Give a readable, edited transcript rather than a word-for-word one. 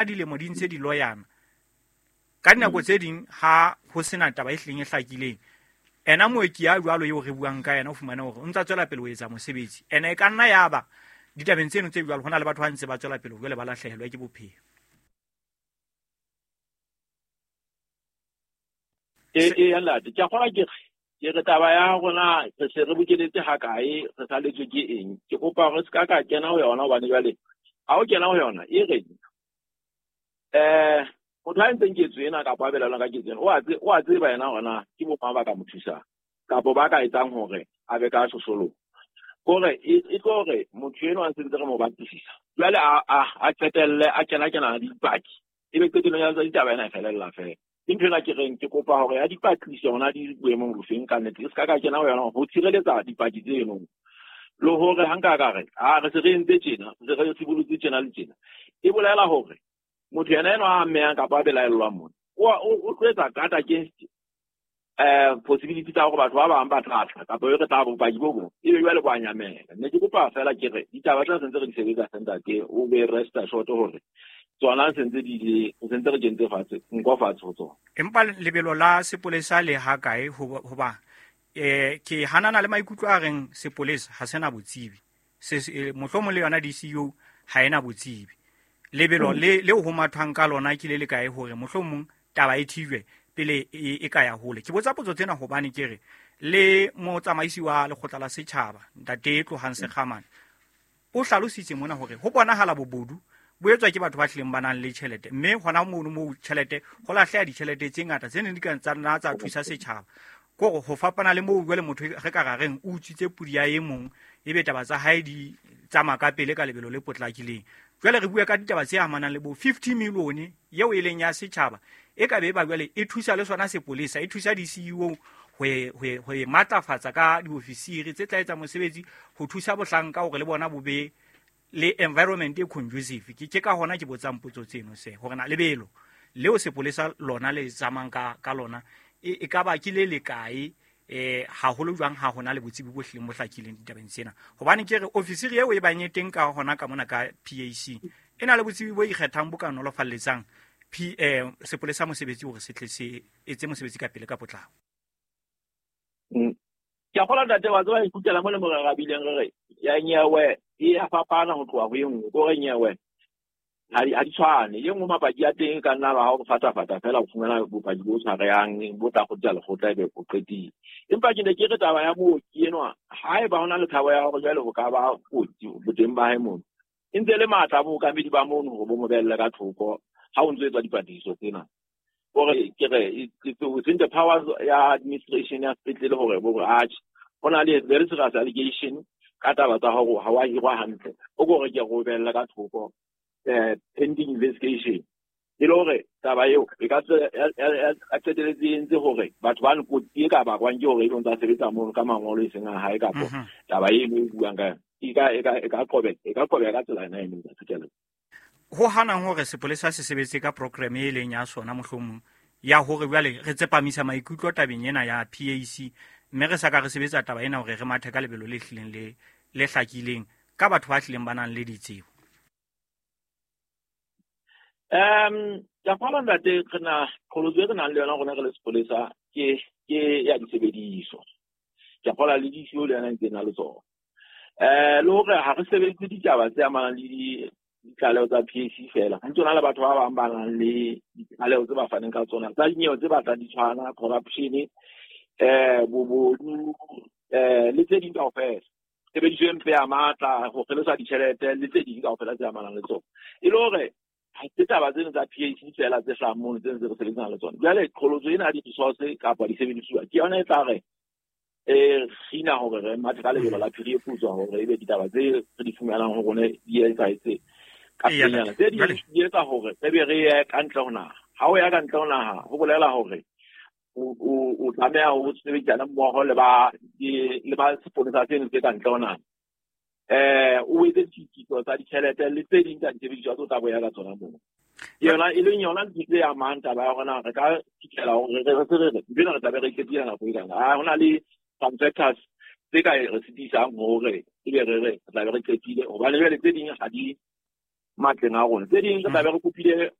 Dilemo di ntse di loyana ka dinako tse ding, ha ho sena taba e hlileng e hlakileng. Ena mooki ya jwalo eo re buang ka yena, o fumane hore o ntsa tswela pele ho etsa mosebetsi. Ene e ka nna ya ba ditabeng tseno tse jwalo, ho na le batho ba ntse ba tswela pele jwale ba lahlehelwa ke bophelo. E ya ntate, ke a kgona ke re taba ya rona re se re bokeletse ha kae, re saletswe ke eng? Ke kopa hore se ka ka kena ho yona, hobane jwale ha o kena ho yona e re motho a entseng ketso ena kapa a belaelwang ka ketso ena, o a tseba yena hore na ke bo mang ba ka mo thusang kapa ba ka etsang hore a be ka shosholoha. Kore e tlo hore motho enwa a sentse re mo batlisisa, jwale a qetelle a kena le dipaki, ebe qetellong ya ditaba ena e felella fela. Ke ntho ena ke reng ke kopa hore ya dipatlisiso hona di boemong bofeng ka nnete, e se ka ka kena ho yona ho tshireletsa dipaki tseno, le hore ha nka ka re a re se re entse tjena, re se re sibolotse tjena le tjena, e bolela hore motho yena enwa a amehang kapa a belaellwang mona o tlo etsa guard against possibility tsa hore batho ba bang ba tla tla kapa e re tla bopaki bo bong, ebe jwale bo a nyamela. Ne ke kopa fela ke re ditaba tsena sentse re di sebetsa, ntate, o be rest assured hore tsona sentse di le, sentse re kentse fatshe nko fatshe ho tsona. Empa lebelo la sepolesa le ha kae? Hoba ke hanana le maikutlo a reng sepolesa ha sena botsebi, se mohlomong le yona DCU ha ena botsebi. Lebelo le ho mathwang ka lona ke le le kae hore mohlomong taba e thijwe pele e ka ya hole? Ke botsa potso tsena hobane ke re le motsamaisi wa lekgotla la setjhaba, ntate Tlohang Sekgamane, o hlalositse mona hore ho bonahala bobodu bo etswa ke batho ba hlileng ba nang le tjhelete, mme hona mono moo tjhelete ho lahleha ditjhelete tse ngata tse neng di ka tsa nna tsa thusa setjhaba. Kore ho fapana le moo jwale motho re ka ra reng o utswitse pudi ya e mong, ebe taba tsa hae di tsamaya ka pele ka lebelo le potlakileng. Jwale re bua ka ditaba tse amanang le bo 50 million eo e leng ya setjhaba, e ka be e ba jwale e thusa le sona sepolesa, e thusa di-CEO ho e matlafatsa ka diofisiri tse tla etsa mosebetsi ho thusa bohlanka hore le bona bo be le environment e conducive. Ke ka hona ke botsang potso tseno se hore na lebelo leo sepolesa lona le tsamayang ka lona e ka ba ke le le kae, haholo jwang ha hona le botsebi bo hlileng bo hlakileng ditabeng tsena, hobane ke re ofisiri eo e bang e teng ka hona ka mona ka PAC e na le botsebi bo ikgethang bo ka nolofalletsang sepolesa mosebetsi hore se tle se etse mosebetsi ka pele ka potlako. Ke a kgolwa, ntate, wa tseba e kgutlela mo le mo re rabileng, re re ya nyewe e ya fapana ho tloha ho e nngwe, ko re nyewe ha di tshwane. E nngwe mapaki a teng e ka nna ba ha o fata-fata fela o fumana bopaki bo tshwarehang bo tla kgutla lekgotla, ebe o qetile. Empa ke ne ke re taba ya mooki enwa, haeba ho na le tshabo ya hore jwale ho ka ba kotsi boteng ba hae mono, e ntse le matla a bookamedi ba mono hore bo mo behelle ka thoko ha o ntso etswa dipatlisiso tsena. Hore ke re it's within the powers ya administration ya sepetlele hore bo re atjhe, ho na le very serious allegation ka taba tsa hore ha wa hirwa hantle, o ko re ke re o behelle ka thoko pending investigation, e le hore taba eo e ka a qeteletse e entse hore batho ba kotsi e ka bakwang ke hore e ntse a sebetsa mono ka mangolo e seng a hae, kapa taba eno e buang ka yona e ka qobeha ka tsela ena e neng. Ho hanang hore sepolesa se sebetse ka program e leng ya sona, mohlomong ya hore jwale re tsepamisa maikutlo tabeng ena ya PAC, mme re sa ka re sebetsa taba ena hore re mathe ka lebelo le hlileng le hlakileng ka batho ba hlileng ba nang le ditsebo. Ke a kgolwa, ntate, re na qholotso e re nang le yona rona re le sepolesa ke ya disebediso. Ke a kgolwa le DCO le yona e ntse na le tsona. Le hore ha re sebedise ditaba tse amanang le ditlaleho tsa PAC fela. Ho ntso na le batho ba bang ba nang le ditlaleho tse ba faneng ka tsona tsa dinyewe tse batlang di tshwana, corruption, bobodu, le tse ding kaofela. Tshebediso e mpe ya matla, ho kgelosa ditjhelete le tse ding kaofela tse amanang le tsona. E le hore ha se taba tseno tsa PAC fela tse hlahang mono tse ntse re sebetsana le tsona. Jwale qholotso ena ya di-resource kapa disebedisuwa ke yona e tla re kgina hore re mathe ka lebelo la phiri e putswa, hore ebe ditaba tse re di fumanang ho rona di etsahetse ka pelenyana. Tse ding di etsa hore re be re ye ka ntle ho naha. Ha o ya ka ntle ho naha, ho bolela hore o tlameha ho sebedisana mmoho le ba sepolesa seno se ka ntle ho naha. O etse ditshitiso tsa ditjhelete le tse ding tsa disebediswa tse o tla boya ka tsona moo. Ke yona e leng yona ntho tse amang taba ya hore re ka fihlela hore re se re re ntho ena re tla be re e qetile nako e kana. Ha hona le some factors tse ka re sitisang hore ebe re re tla be re qetile, hobane jwale tse ding ha di Matleng a rona. Tse ding re tlabe re kopile.